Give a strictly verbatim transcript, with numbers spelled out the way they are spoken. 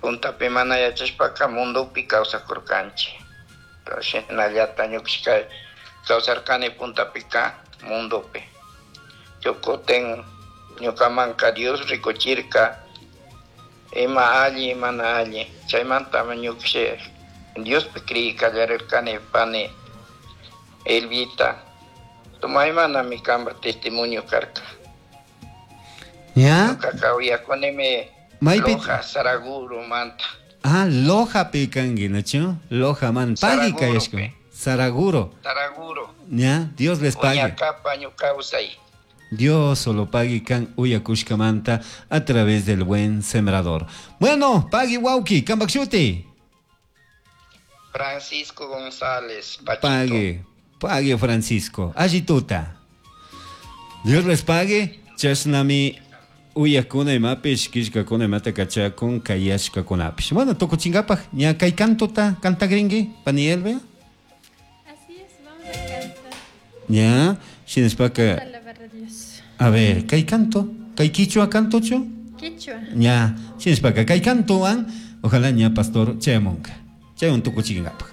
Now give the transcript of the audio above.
Puntapi mana yachashpaka mundopi kawsakurkanchik. Shinallata ñukashka kawsarkani puntapika mundopi. Kutin ñukamanka Dios rikuchirka ima alli mana alli. Chaymantami ñukashi Diospi creyi kallarirkani pani Elvita. Tumaymanami kanpa testimonio karka. ¿Ya? Ñukaka uyakunimi Maypi- Loja Saraguro manta. Ah, Loja pi kanki, nachu? Loja man. Pagui kayashka. Saraguro. Saraguro. ¿Ya? Dios les pague. Uñakapa ñukawsay. Dios solo pague kan uyakushkamanta a través del buen sembrador. Bueno, pagui wauki, kambakshuti. Francisco González, Pachito. Pague, pague Francisco. Allituta. Dios les pague. Chashnami uyakuna imapish, killkakuna imata kachakun, kayashkakunapish. Bueno, tukuchinkapaj, ña kay cantota cantagrinki, pani Elvia. Así es, vamos a cantar. Ya, shinashpaka, Alabar a Dios. a ver, kay canto, kay quichua cantochu. Quichua. Ña, shinashpaka kay cantowan, ojalá ña pastor chayamunka. Chaywan tukuchinkapaj.